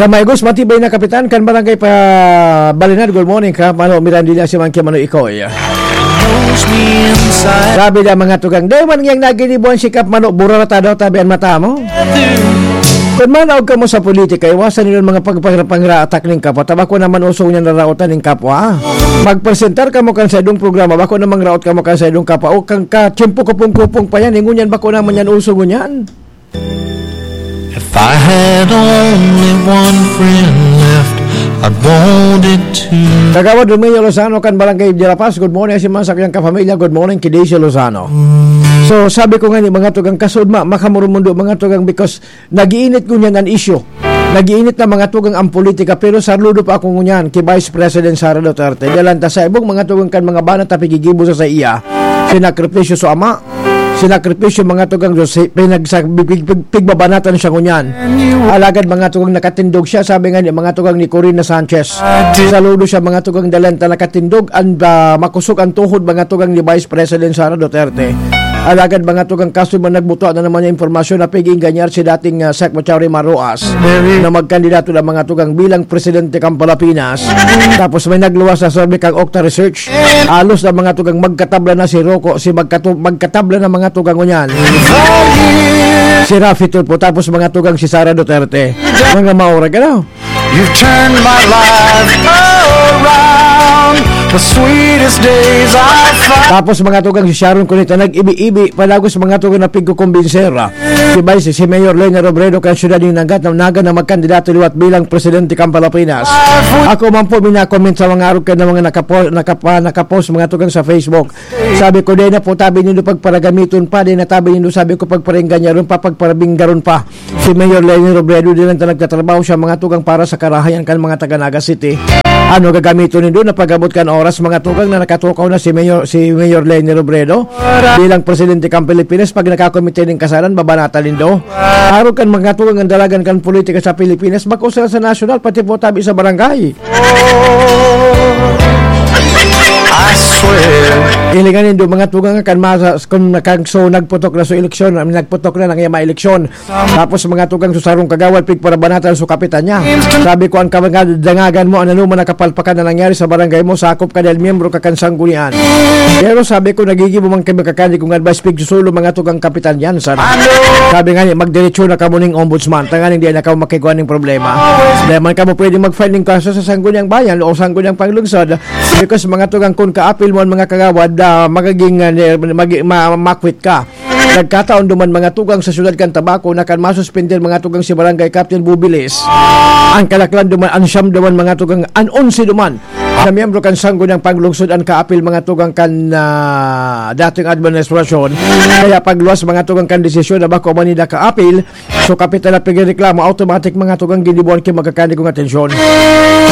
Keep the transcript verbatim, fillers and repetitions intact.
Amigos, matibay na kapitan kan Barangay pa Balinad. Good morning, Kap Mano Mirandilla, si Mangki Mano Ikoy. Grabe na mga tugang. Dahil man ngayang naginibuan si Kap Mano, burarata daw tabi ang mata mo. Kung manaog ka mo sa politika, iwasan nila mga pagpangraatak ning kapwa. Tabako naman usong niya naraotan ning kapwa. Magpresentar ka mo kan sa idong programa, bako namang raot ka mo kan sa idong kapwa. O kang ka, tiyempo kupong-kupong pa yan, ingon yan, bako naman yan, usong ngunyan. If I had only one friend left, I'd want it to. Kagawad Romeo Lozano kan Barangay de La Paz, good morning, si Mansak yang kapamilya, good morning, Kideisha Lozano. So, sabi ko nga ni mga tugang kasud, ma, makamurumundo mga tugang because nagiinit ko niyan an isyu. Nagiinit na mga tugang ang politika, pero saludo pa ako ngunyan kay Vice President Sara Duterte. Dalan ta sa ibong mga tugang kan mga bana ta pigigibo sa sa iya. Sinakripisyo sa ama, sinakripisyo mga tugang, so, si, pinagsa-, pig-, pig-, pig-, pigbabanatan siya ngunyan. Alagad mga tugang nakatindog siya, sabi nga ni mga tugang ni Corina Sanchez. Saludo siya mga tugang dalan ta nakatindog, ang, ah, makusog ang tuhod mga tugang ni Vice President Sara Duterte. Alagad mga tugang kaso man nagbuto na naman yung impormasyon na pig-inganyar si dating, ah, Secretary Maroas na magkandidato na mga tugang bilang presidente kan Pilipinas. Tapos may nagluwas sa survey kang Okta Research. Alos na mga tugang magkatabla na si Rocco, si magkatu-, magkatabla na mga tugang ngunyan. Si Raffy Tulfo, tapos mga tugang si Sara Duterte. Mga maurag, ano? You've turned my life around. The sweetest days I found. Tapos mga tugang si Sharon Cuneta, nag-ibi-ibi, padagos mga tugang na pigkukumbinser. Si Vice, si Mayor Leni Robredo kan siyudad ng Naga, na Naga na magkandidato liwat bilang presidente kan Pilipinas. Ako man po, minakomment sa mga arog ka na mga nakapo-, nakapa-, nakapost mga tugang sa Facebook. Sabi ko, "Dai na po tabi nindo pagparagamiton pa, dai na tabi nindo," sabi ko, "pagparingganyaron pa, pagparabinggaron pa." Si Mayor Leni Robredo, di lang ta nagtatrabaho siya, mga tugang, para sa karahayan kan mga taga Naga City. Ano gagamiton nindo na pag-abot kan oras, mga tugang, na nakatukaw na si Mayor, si Mayor Leni Robredo bilang presidente kan Pilipinas, pag nakakomite nin kasalan, babanatan nindo? Arog kan mga tugang ang dalagan kan politika sa Pilipinas, bako sa, sa nasyonal, pati po tabi sa barangay. I swear. Ilingan nindo mga tugang kan masa, kung nakagso, nagputok na sa eleksyon, nagputok na nang yama eleksyon. Tapos mga tugang sa sarong kagawad, pigparabanatan sa kapitan niya. Sabi ko, ang kabangadangagan mo, ano naman nakapalpakan na nangyari sa barangay mo, sakop ka dahil miyembro ka kan sanggunian. Pero sabi ko, nagigibo man kami kakani kung advice, pigsusulo mga tugang kapitan yan. Sabi nga niya, magdiretso na kamo ning ombudsman, tanganing di na kamo makigwa ning problema. Di man kamo pwede mag-file ning kaso sa sangguniang bayan o sangguniang panglungsod. Because mga tugang, kung kaapil mo ang mga kagawad, ah, magiging, ah, ne-, magi-, ma-, makwit ka. Nagkataon duman mga tugang sa siyudad kan Tabaco na kan masuspender mga tugang si Barangay Captain Bubilis. Ang kalaklan duman, an siyam duman mga tugang, an onse duman na miyembro kan sangguniang panglungsod an kaapil mga tugang kan, ah, dating administrasyon. Kaya pagluwas mga tugang kan desisyon na bako man nila kaapil, so kapitan na pigreklamo, automatic mga tugang ginibuan ki magkakani kong atensyon.